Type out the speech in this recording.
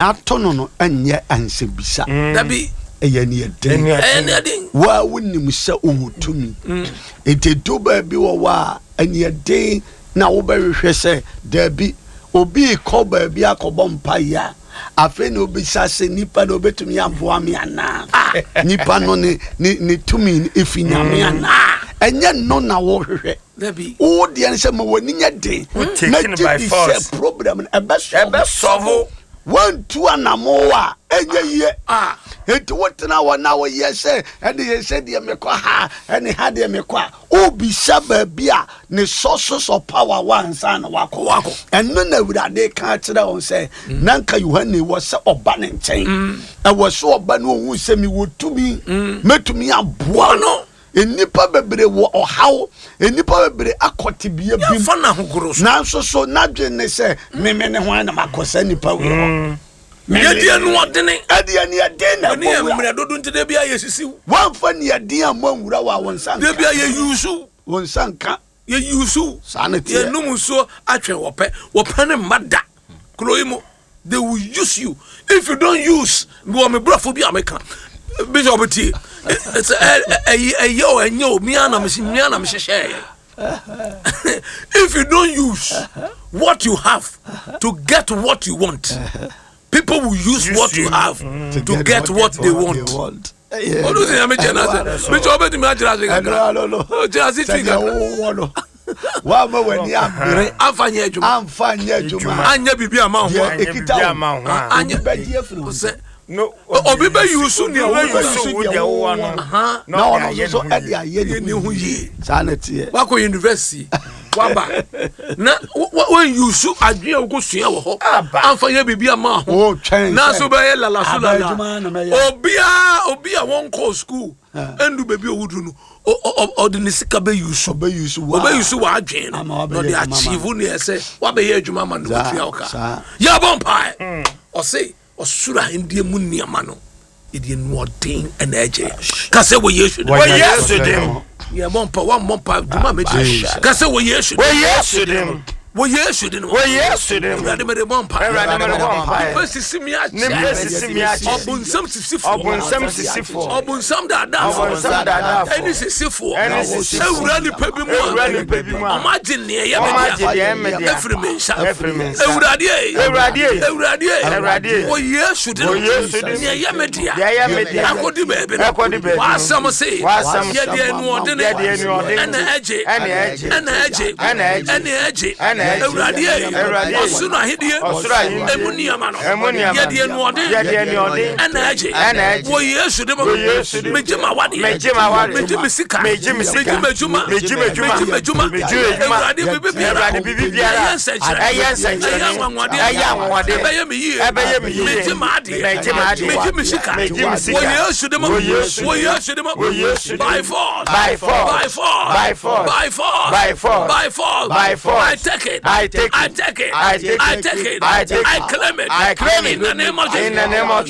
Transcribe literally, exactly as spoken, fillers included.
Ato no no nyɛ ansɛmbisa. Dabi. Ɛyɛ neɛden. Ɛyɛ neɛden. Waa wonim sɛ wowɔ tumi, nti du baabi wɔ hɔ a ɛneɛden na wobɛhwehwɛ sɛ daabi, obi kɔ baabi akɔbɔ mpaeɛ a, afei na obisa sɛ nipa na obɛtumi aboa me anaa, nipa no ne ne ne tumi efi Nyame anaa. Ɛnyɛ no na wɔhwehwɛ. Dabi. Wo deɛ no sɛ ma w'ani nyɛ den na taken gye by di force. Sɛ problem no ɛbɛsɔbo. Ɛbɛsɔbo. Wantu anamo a ɛnyɛ yie. Ah. Enti wotena hɔ na woyɛ sɛ ɛne yɛ sɛ deɛ mekɔ ha, ɛne ha deɛ mekɔ a, wobisa baabi a ne sources of power wansa na wakɔ. Wakɔ. Ɛno na Awurade ka kyerɛ wɔn sɛ na nka Yohane wɔ sɛ ɔba ne nkyɛn, ɛwɔ sɛ ɔba no ɔhu sɛ mewɔ tumi, mɛtumi aboa no. Nnipa bebree wɔ ɔhaw, nnipa bebree akɔ tebea bi mu. Yɛmfa no ahogoro so. Nanso so n'adwene ne sɛ meme ne hwan na makɔ saa nnipa wei hɔ? Meme- Yɛdi anuɔdene. Ɛde aniɛden na ɛne yɛ ɛbɔ wura. Mmerɛ dodo nti da bia yɛsisiw. Wɔmfa niɛden a mo nwura wɔ a wɔn nsa Da nka. bia yɛyusu. Wɔn nsa nka. Yɛyusu. Saa ne teɛ. Yɛnum nsuo atwɛn wɔpɛ wɔpɛ ne mma da kuro yi mu. They will use you if you don't use. Wɔ me brɔfo bi a meka, Bishop tie, sɛ ɛyɛ ɛyɛ o, ɛnyɛ o, mia na mehye mia na mehyehyɛ yɛ. If you don't use what you have to get what you want, people will use, use what you you have to, to get, what, they want. Want. Ɔno sɛ Nyame kyɛ no ase, Bishop, wobɛtumi akyerɛ ase kakra? Ɛno ano no. Ɔkyerɛ ase twi sɛdeɛ kakra. wowɔ no woama w'ani abere. Amfa nyɛ adwuma. Amfa nyɛ adwuma. Anyɛ biribi ama wo ho a Deɛ anyɛ ɛkita biribi wo ama wo ho a. Anyɛ- obi bɛgye afiri wo sɛ nsam. No, obi bɛ use nea obi wo bɛ use wo deɛ wowɔ no. Aha. Na ɔde ɔno ayɛ nso so ne ho ɛde yie. ayɛ ne ne ho ho yie. yie. Saa na teɛ. Wakɔ university waba na wɔn use adwene a wokɔ sua wɔ hɔ. Aba. Amfa yɛ biribi ama ho. Wotwɛn na sɛ so bɛyɛ lalaso aba lala. adwuma na mɛyɛ. Obiara, obi a wɔnkɔɔ school ɛndu baabi a owuduru no, ɔ- ɔ- ɔ- ɔde ne sika bɛ use. Ɔbɛ use wa. Ɔbɛ use w'adwene no Ama na wabɛyɛ ɔde adwuma ama achieve no. ne ɛsɛ wabɛyɛ adwuma ama no. Saa, Watua wo ka. saa. Yɛbɔ mpae. Ɔse ɔsoro ahendeɛ mu nneɛma no yɛde anuɔden ɛna ɛgye. Ka sɛ wɔ Yesu din. Wɔ Yesu dim. Yɛbɔ mpa, wammɔ mpa dwuma mɛdi. Jesus. Ka sɛ wɔ Yesu Wɔ din. Yesu dim. Wɔ Yesu din. Wɔ Yesu dim. Awurade, mede bɔ mpa. Awurade, mede bɔ mpaeɛ. Nipa sisi mi Nipa akyɛ. sisi mi akyɛ. Ɔbonsam sisifoɔ. Ɔbonsam sisifoɔ. Ɔbonsam daadaafoɔ. Ɔbonsam daadaafoɔ. Ɛne sisifoɔ. Ɛne sisifoɔ. Ewura nipa bi mu a Ewura nipa bi mu a. ɔmo agye nea ɛyɛ Ɔmo me agye dea deɛ ɛmɛ dea. efiri mi nsa. Efiri mi nsa. Ewurade ye. Ewurade ye. Ewurade ye. Ewurade ye. Wɔ Yesu din. Wɔ Yesu din. Nea ɛyɛ me dea. Deɛ ɛyɛ me dea. Akɔdi baabi no. Akɔdi baabi no. W'asɛm se. W'asɛm se. Yɛde anuɔdene. Yɛde anuɔdene. Ɛna ɛgye. Ɛna ɛgye. Ɛna ɛgye. Ɛna ɛgye. Ɛna ɛgye. Ɛna ɛgye. Ewurade ye. Ewurade ye. Ɔsoro ahennie. Ɔsoro ahennie. Emu nneɛma no. Emu nneɛma. Yɛde anuɔden. Yɛde anuɔden. Ɛna ɛgye. Ɛna ɛgye. Wɔ Yesu din mu. Wɔ Yesu din mu. Megye ma wadeɛ. Megye ma wadeɛ. Megye me sika. Megye me sika. Megye m'adwuma. Megye m'adwuma. Megye m'adwuma. Megye m'adwuma. Ewurade, biribi biara. Ewurade, biribi biara. Ɛyɛ nsɛnkyerɛnne. Ɛyɛ nsɛnkyerɛnne. Ɛyɛ anwanwadeɛ. Ɛyɛ anwanwadeɛ. Ɛbɛyɛ me yie. Ɛbɛyɛ me yie. Megye m'adeɛ. Megye m'adeɛ. Megye me sika. Megye me sika. Wɔ Yesu din mu. Wɔ Yesu Wɔ din mu. Yesu din mu. Wɔ Yesu din mu. By force. By force. By force. By force. By force. By force. By force. By force. I take it. I take it. I take it. I take it. I take it. I take it. I claim it. I claim it. In the name of Jesus. In the name of